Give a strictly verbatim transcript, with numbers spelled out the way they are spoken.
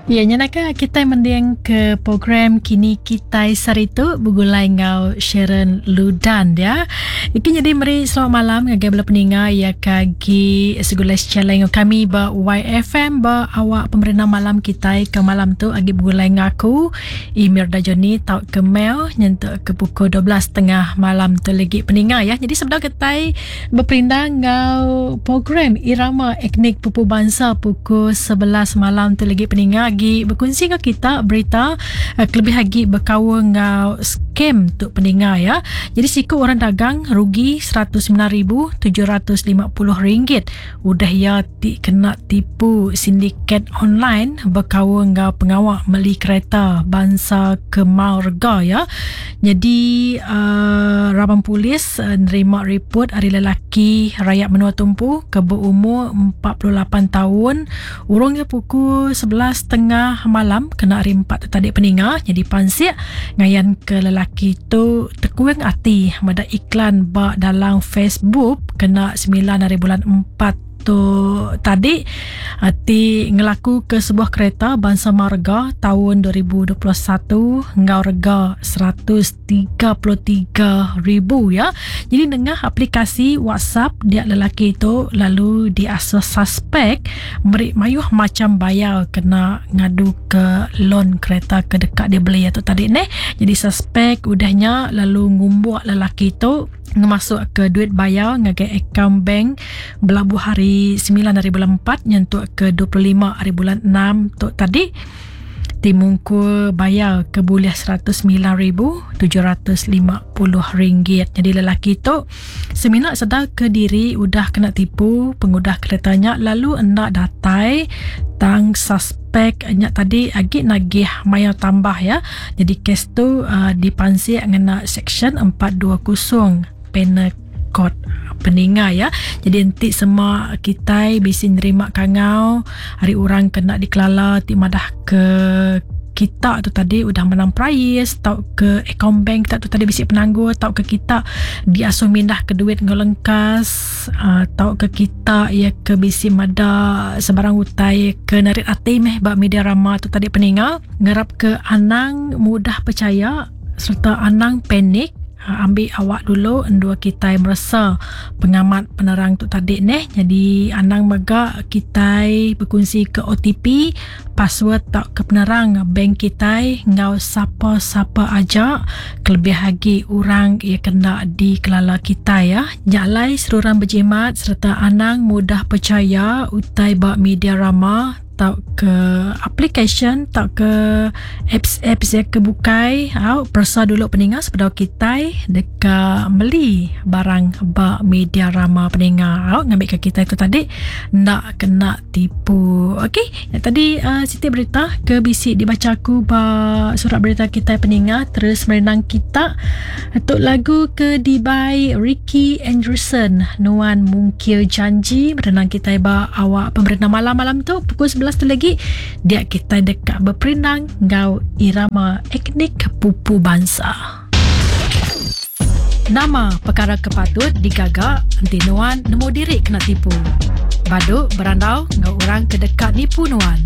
Ya, nyenaka kita mending ke program Kini Kitai Saritu begulai ngau Sharon Ludan ya. Iki jadi meri selamat malam ngagai bala peninga ya kagi segulai challenge kami ba Y F M ba awak pemerintah malam kita ke malam tu agi begulai ngaku Emir Dajoni tau ke mail nyentuk ke pukul dua belas tiga puluh malam tu lagi peninga ya. Jadi sebelum kita berperindang ngau program Irama Etnik Pupu Bangsa pukul sebelas malam tu lagi peninga lagi berkongsi dengan kita berita uh, kelebih lagi berkawan ngau scam tu peninga ya. Jadi siku orang dagang rugi seratus sembilan ribu tujuh ratus lima puluh ringgit udah ya ti kena tipu sindiket online berkawan ngau pengawak meli kereta bangsa Kemal Rega ya. Jadi uh, rabang polis uh, nerima report hari lelaki rakyat menua tumpu ke berumur empat puluh lapan tahun urungnya pukul sebelas tiga puluh malam kena hari empat tadi peninga. Jadi pansik ngayan ke lelaki tu tekuing hati mada iklan ba dalam Facebook kena sembilan hari bulan empat tu tadi ti ngelaku ke sebuah kereta bangsa marga tahun dua ribu dua puluh satu ngau rega seratus tiga puluh tiga ribu ya. Jadi nengah aplikasi WhatsApp dia lelaki itu lalu diasas suspek beri mayuh macam bayar kena ngadu ke loan kereta ke dekat dia beli atau tadi neh. Jadi suspek udahnya lalu ngumbuak lelaki itu ngemasuk ke duit bayar ngagai akaun bank belabuh hari sembilan hari bulan empat nyentuk ke dua puluh lima hari bulan enam tu tadi timungku bayar ke boleh seratus sembilan ribu tujuh ratus lima puluh ringgit. Jadi lelaki tu seminak sedar ke diri udah kena tipu pengudah keretanya lalu hendak datai tang suspek nyak tadi agi nagih maya tambah ya. Jadi kes tu uh, dipansik ngena section empat dua kosong Penal Code peninga ya. Jadi enti semua kita bisi nerima kangau hari orang kena dikelala ti madah ke kita tu tadi udah menang prize tau ke akaun bank kita tu tadi bisi penangguh tau ke kita diasuh mindah ke duit ngelengkas uh, tau ke kita ya ke bisi mada sebarang utai ke narit ati meh ba media rama tu tadi peninga ngarap ke anang mudah percaya serta anang panik. Ha, ambil awak dulu endua kita merasa pengamat penerang tu tadi neh. Jadi anang mega kita berkongsi ke O T P password tak ke penerang bank kita ngau siapa-siapa aja kelebih lagi orang yang kena dikelala kita ya. Jalai seruran berjimat serta anang mudah percaya utai ba media rama tau ke application tau ke apps-apps yang kebukai. Au persa dulu peninga sebelum kita dekat beli barang ba media rama peninga. Au ngambil ke kita itu tadi nak kena tipu. Okey, yang tadi uh, siti berita ke bisi dibaca aku ba surat berita kita peninga terus merenang kita untuk lagu ke dibai Ricky Anderson Nuan Mungkir Janji merenang kita ba awak pemerintah malam-malam tu pukul sebelas tu lagi dia kita dekat berperindang ngau irama etnik pupu bangsa. Nama perkara kepatut digagak enti nuan nemu diri kena tipu. Baduk berandau ngau orang ke dekat nipu nuan.